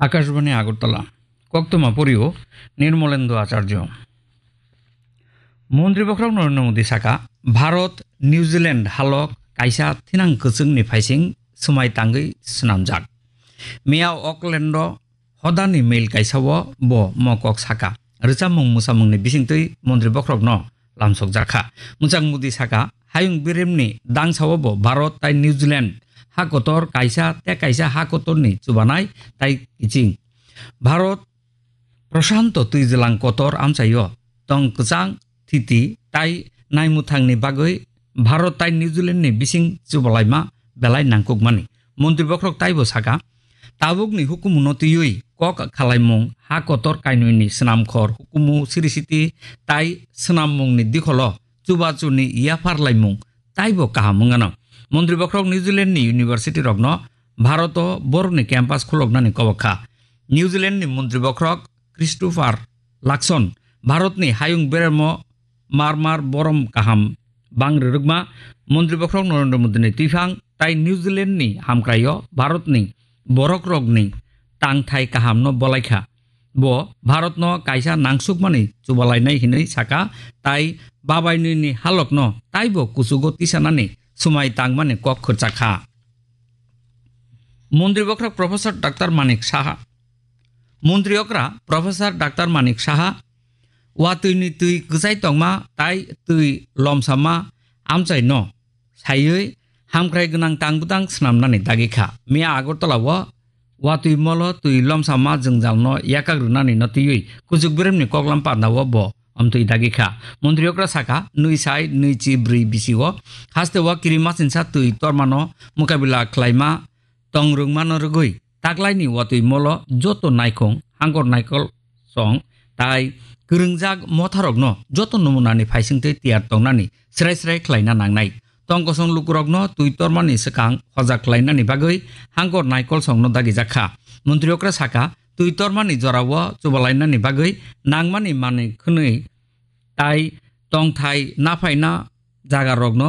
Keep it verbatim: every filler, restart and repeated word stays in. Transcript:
Akashbani Agartala. Koktwma porio Nirmolendo Acharjo. Montri bokhorok Narendra Modi saka, Bharat New Zealand halok kaisa thinang kwchwngni phaising swmai tangwi swnamjak. Miya Auckland-o hodani mail kaisa-o bo mo kok saka. Rwchapmung mwsamungni bisingtwi montri bokhorokno lamsokjak kha. Mwchang Modi saka, hayung biremni dangsa-o bo Bharat tai New Zealand ha kotor kaisa tei kaisa ha kotorni chubanai tai kiching. Bharat Prashanto twijlang kotor amchaio tong kwchang thiti tai naimwthangni bagwi Bharat tai New Zealand ni bising chubalaima belai nangkukmani. Montri bokhorok taibo saka, tabukni hukumuno twiwi kok khalaimung ha kotor kainwini swnamkhor hukumu sirisiti tai swnammungni dikholo chubachuni yaphar laimung taibo kaham wngano. Montri bokhorok New Zealand ni university rokno Bharat o borokni campus khuloknani kobok kha. New Zealand ni montri bokhorok Christopher Luxon Bharat ni hayung beremo mar mar borom kaham bang rwrwkma montri bokhorok Narendra Modi ni twiphang tai New Zealand ni hamkraio Bharat ni borok rokni tangthai kahamno bolai kha. Bo Bharatno kaisa nangsukmani chubalainai hinwi saka, tai babainwini halokno taibo kuchugo tisanani swmai tangmani kok khurchak kha. Montri bokhorok Professor Doctor Manik Saha. Montri okra Professor Doctor Manik Saha watwini twi kwchai tongma tai twi lomsama amchaino saiwi hamkrai gwnang tang bwtang swnamnani dagi kha. Miya Agartala-o watwi molo twi lomsama jwngjalno yakak rwnani no twiwi kuchuk biremni koklam panda-o bo amtwi dagi kha. Montri okra saka, nwi sai nwi chi bwrwi bisi-o haste-o kirimasingsa twi tormano mukabila khlaima tong rwngmano rwgwi taklaini watwi molo joto naikhung hangkor naikol song tai kwrwngjak motharokno joto numunani phaisingtwi tiyar tongnani srai srai khlaina nangnai. Tongkosong lukurokno twi tormani swkang hojak khlainani bagwi hangkor naikol songno dagijak kha. Montri okra saka, twi tormani jorao chubalainani bagwi nangmani manwi khwnwi tai tongthai naphaina jagarokno